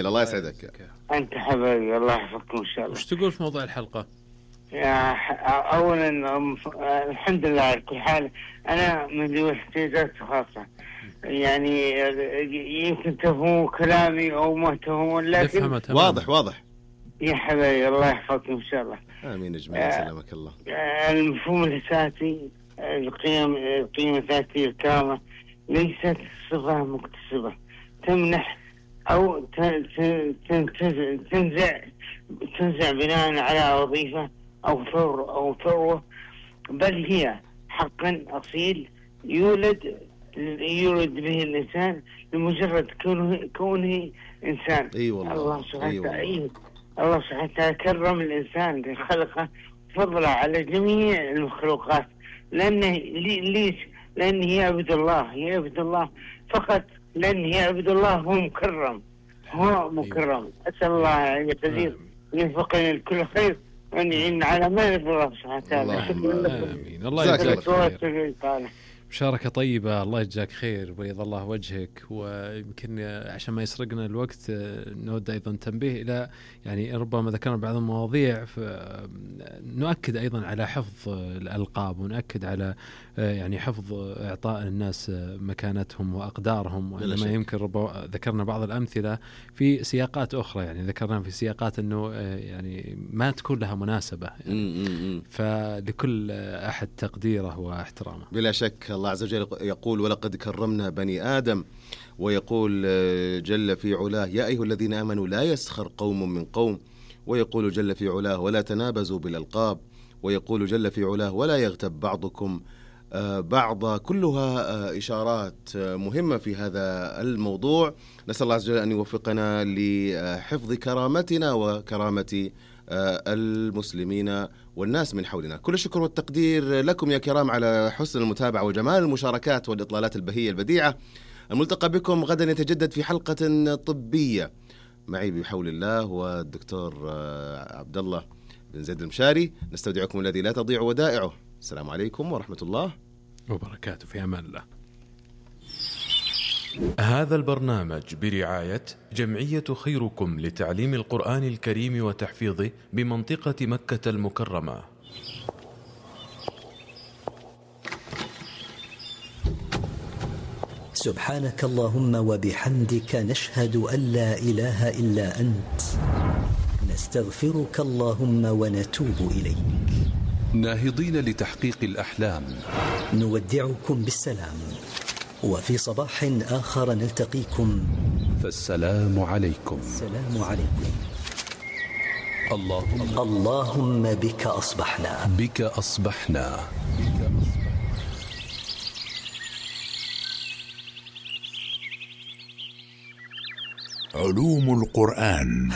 خير، الله يسعدك. أنت حبيبي، الله يحفظكم إن شاء الله. وش تقول في موضوع الحلقة؟ أولا الحمد لله على كل حال. أنا من ذوي الاحتياجات الخاصة، يعني يمكن تفهموا كلامي أو ما تفهمون، لكن واضح يا حبيبي الله يحفظكم إن شاء الله. آمين أجمعين. سلامك الله. المفهوم الأساسي القيم الذاتية الكاملة ليست صفة مكتسبة تمنح أو تنزع بناء على وظيفة أو ثروة، بل هي حقا أصيل يولد به الإنسان لمجرد كونه إنسان. الله سبحانه وتعالى كرم الإنسان خلقه فضلا على جميع المخلوقات، لأنه يعبد الله فقط، لأنه يعبد الله هو مكرم. أسأل الله أن يتزيد ويوفقنا لكل خير وأن يعين على ما يرضى الله سبحانه وتعالى. آمين. الله يجزاك خير. مشاركة طيبة، الله يجزاك خير ويض الله وجهك. ويمكن عشان ما يسرقنا الوقت نود أيضا تنبيه إلى يعني ربما ذكرنا بعض المواضيع، نؤكد أيضا على حفظ الألقاب، ونؤكد على يعني حفظ إعطاء الناس مكانتهم وأقدارهم. وإنما يمكن ذكرنا بعض الأمثلة في سياقات أخرى، يعني ذكرنا في سياقات أنه يعني ما تكون لها مناسبة، يعني فلكل أحد تقديره واحترامه بلا شك. الله عز وجل يقول ولقد كرمنا بني آدم، ويقول جل في علاه يا أيها الذين آمنوا لا يسخر قوم من قوم، ويقول جل في علاه ولا تنابزوا بالألقاب، ويقول جل في علاه ولا يغتب بعضكم بعضا. كلها إشارات مهمة في هذا الموضوع. نسأل الله عز وجل أن يوفقنا لحفظ كرامتنا وكرامة المسلمين والناس من حولنا. كل الشكر والتقدير لكم يا كرام على حسن المتابعة وجمال المشاركات والإطلالات البهية البديعة. الملتقى بكم غدا يتجدد في حلقة طبية معي بحول الله والدكتور عبد الله بن زيد المشاري. نستودعكم الذي لا تضيع ودائعه. السلام عليكم ورحمة الله وبركاته. في أمان الله. هذا البرنامج برعاية جمعية خيركم لتعليم القرآن الكريم وتحفيظه بمنطقة مكة المكرمة. سبحانك اللهم وبحمدك، نشهد أن لا إله إلا أنت، نستغفرك اللهم ونتوب إليك. ناهضين لتحقيق الأحلام، نودعكم بالسلام، وفي صباح آخر نلتقيكم، فالسلام عليكم. السلام عليكم. اللهم بك أصبحنا. علوم القرآن.